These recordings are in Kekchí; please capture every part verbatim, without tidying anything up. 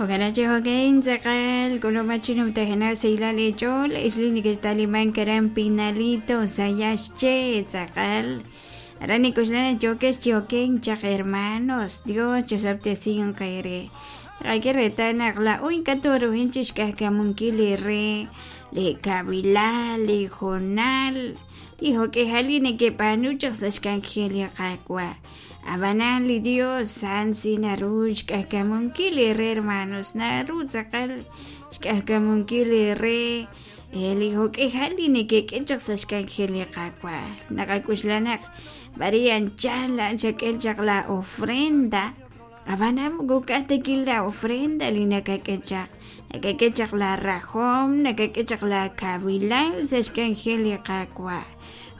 Jo'kan jo'kan tz'aqal k'ulub'ach numtajenaq saylal eech'ool ixli nekextaliman karan Pinalito Sayaxche tz'aqal aran nik'uxlan yokex yoken chaq hermanos Dios chosab'tesin qere qak'e reetal naq la'o ink'a' toruhin chixk'ajkamunkil li re li kabilal li jonal li jok'ejal li nekeb'aanu chaq sa' xk'anjel li Qaawa' Abanan li Dios san si naru xk'ajkamunkil li re hermanos naru tz'aqal xk'ajkamunkil li re li jok'ejal li nekek'e chaq sa' xk'anjel li Qaawa' naqak'uxlan naq b'ari anchal xak'el chaq la ofrenda abanam kuk'ajtekil la ofrenda li nakak'e chaq nakak'e chaq la rajom nakak'e chaq la kabilal sa' xk'anjel li Qaawa'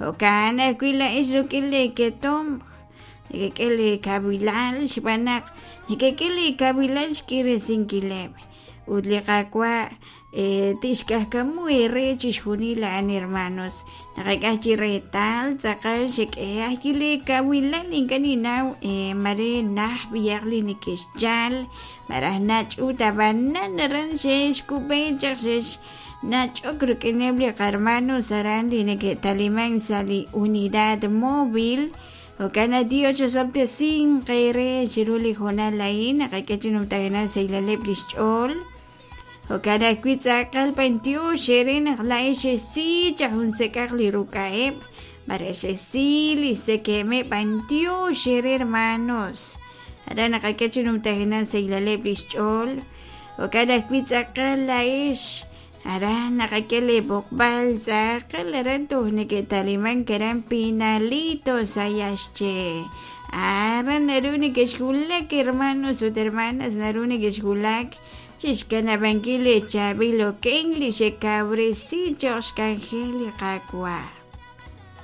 jo'kan ajwi' la'ex ruk'in li ketom nekek'e li kabilal xb'aan naq nekek'e li kabilal xk'iresinkileb' ut li Qaawa' tixk'ajkamu eere chixjunil a'an hermanos naqak'aj chi reetal tz'aqal xek'e ajwi' li kabilal ink'a' ninnaw mare naj b'iyaq li nekexchal maraj nach'ut ab'anan aran xexkub'e chaq xex nach'ok ruk'ineb' li qarmanos aran li neke'taliman sa' li unidad móvil Jo'kan Dios chosab'tesin qere chiru li jonal a'in naqak'e chi numtajenaq saylaleb' li xch'ool jo'kan ajwi' tz'aqal b'antiox ere naq la'ex xesi chaq jun sek'aq li ruk'a'eb' mare xesi li sekemeb' b'antiox ere hermanos aran naqak'e chi numtajenaq saylaleb' li xch'ool jo'kan ajwi' tz'aqal la'ex aran naqak'e li b'oqb'al tz'aqal aran toj neke'taliman karan Pinalito Sayaxche aran naru nekexwulak hermanos ut hermanas naru nekexwulak chixkanab'ankil li chaab'il oken li xekawresi choq xk'anjel li Qaawa'.